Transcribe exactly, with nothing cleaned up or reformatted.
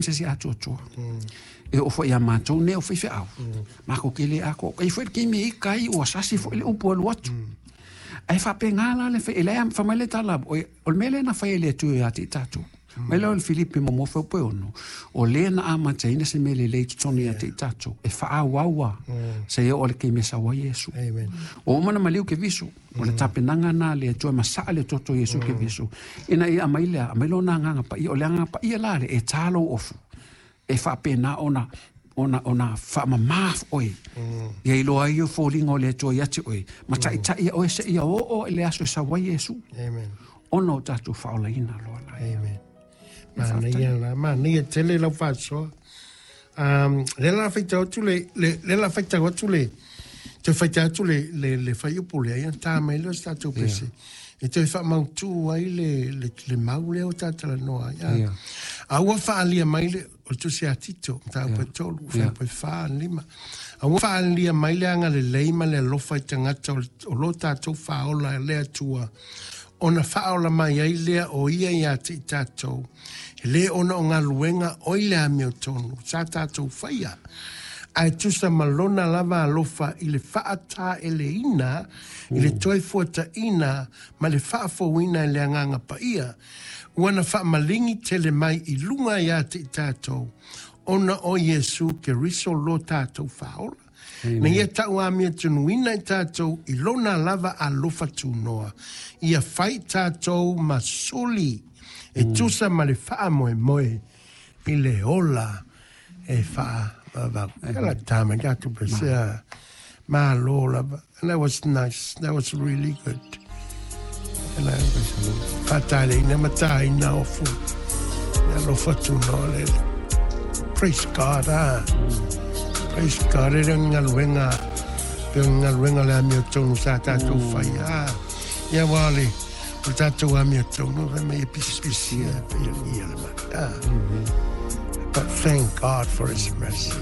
Se se atoatoa e oo foi iā matou nei o faifeau makou ke lē atoa ai foi le taimi e ika ai ua sasi foi le upu alu atu ae faapegā la le fai lea fai mai le tala o le mea lea na fai e le Atua ia te i tatou mai lea o le Filipi muamua fuaiupu e ono o lē na amataina se mea lelei i totonu ia te i tatou e faaauaua seia oo i le taimi e sau ai Iesu. Ua uma ona maliu Keriso o le tapenaga lena a le Atua e masaa le toto o Iesu Keriso ina ia aumai lea aumai lona agaga paia. O le agaga paia la lea e tā lou ofu e faapena ona ona ona faamamā oe ia iloa ai foliga o le Atua ia te oe ma taitai ia oe seia oo i le aso e sau ai Iesu ona o tatou faaolaina loa la. Amen. Manaia la, manaia tele lau faasoa. Um, le la faitau atu le, le, le la faitau atu le, toe faitau atu le, le, le fuaiupu lea, ia ta mai lea o se tatou pese. E toe faamautu ai le, le, le mau lea o tatalanoa ai. Yeah. A ua faaalia mai le, o le tusi a Tito, mataupu e tolu, fuaiupu e fa, lima. A ua faaalia mai le agalelei ma le alofa i tagata o, o lo tatou faaola e le Atua, ona faaola mai ai lea o ia iā te i tatou, e lē ona o galuega oi le amiotonu sa tatou faia, ae tusa ma lona lava alofa i le faataeleina i le toe fuataina ma le faafouina e le Agaga Paia, ua na faamaligi tele mai i luga iā te i tatou, ona o Iesu Keriso lo tatou faaola. Na ia tauamiatunuina i tatou i lona lava alofa tunoa, ia fai tatou ma suli e tusa ma le faamoemoe i le ola e faavavau. Kala tama tatou pesea malo lava. And that was nice. That was really good. And I faataleina ma tāina ofu. Le alofa tunoa le. Praise God, ah. Praise God, e le galuega, pe o galuega le amiotonu sa tatou fai. Ah, ia ua le, o le tatou amiotonu, fai mai e pisipisi e pe ia le mai. Ah. But thank God for His mercy.